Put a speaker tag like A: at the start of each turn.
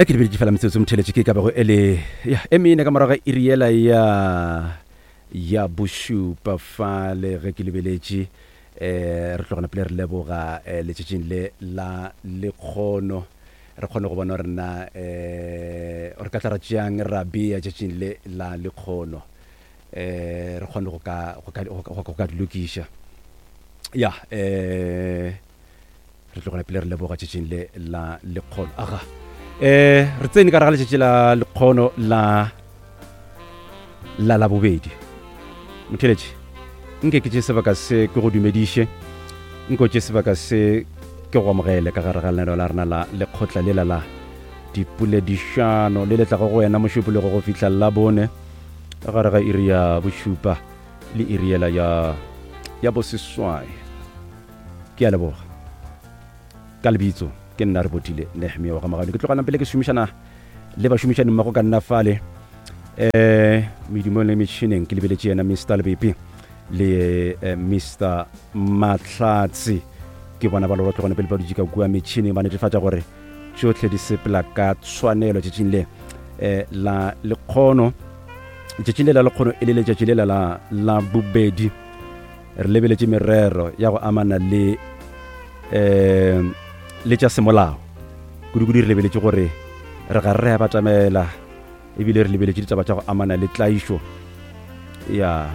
A: E ke lebeletše fela metsotso motheletše ke ka bego e le ya e mene ka morago ga iri yela ya ya bošupa fale ge ke lebeletše um re tlogana pele re leboga um letšatšing le la lekgono re kgone go bona gore na um re ka tla ra tšeang ra bea tšatšing le la lekgono um re kgone go ka go ka go ka di lokiša ya um Re tlogela pele re leboga tšatšing le la lekgono. Aga. Eh, re tsene ka raga letšatši la lekgono la la labobedi. Motheletši, nke ke tše sebaka se ke go dumediše, nke o tše sebaka se ke go amogele ka gare ga lenaneo la rena la lekgotla lela la dipoledišano le le tlago go wena Mošupologo go fihla Labone ka gare ga iri ya bošupa le iri yela ya ya boseswai. Ke a leboga. Ka lebitso, ke nna Rebotile Nehemia wa ga Magano. Ke tloga pele ke šomišana le bašomišani mmogo ka nna fale um medumong le metšhineng. Ke lebeletše yena Mr Lebepe le eh, Mr Mahlatse. Ke bona ba loro tlogone pele ba dutše ka kua metšhineng ba netefatša gore tšohle di sepela ka tshwanelo tšatšing le eh, la lekgono. Letšatšing le la lekgono e le letšatši lela la la bobedi. Re lebeletše merero ya go amana le um le tša semolao. Kudu-kudu re lebeletše gore re ga re a batamela ebile re lebeletše ditaba tša go amana le tlaišo ya.